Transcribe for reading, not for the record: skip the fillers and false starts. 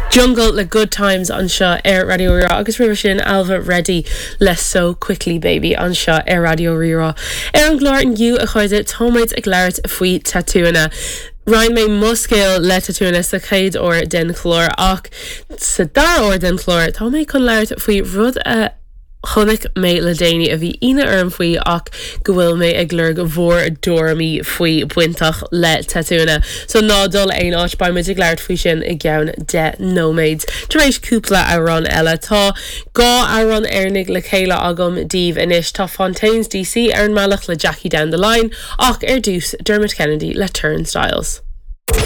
Jungle le Good Times anseo ar Raidió Rí-Rá agus roimhe sin Ailbhe Reddy le So Quickly Baby anseo ar Raidió Rí-Rá. Ar an gclár inniu, a chairde, táimid ag labhairt faoi tatúanna. Roinn mé mo scéal le tatúanna sa chéad uair den chlár ach sa dara huair den chlár tá mé chun labhairt faoi rud a chonaic mé le déanaí a bhí ionadh orm faoi ach go bhfuil mé ag lorg bhur dtuairimí faoi bainteach le tatúanna. So ná dul aon áit, beidh muid ag labhairt faoi sin i gceann 10 nóiméad. Tar éis cúpla amhrán eile, tá dhá amhrán Éireannaigh le chéile agam daoibh anois. Tá Fontaines DC ar an mbealach le Jackie Down the Line ach ar dtús Dermot Kennedy le Turnstiles.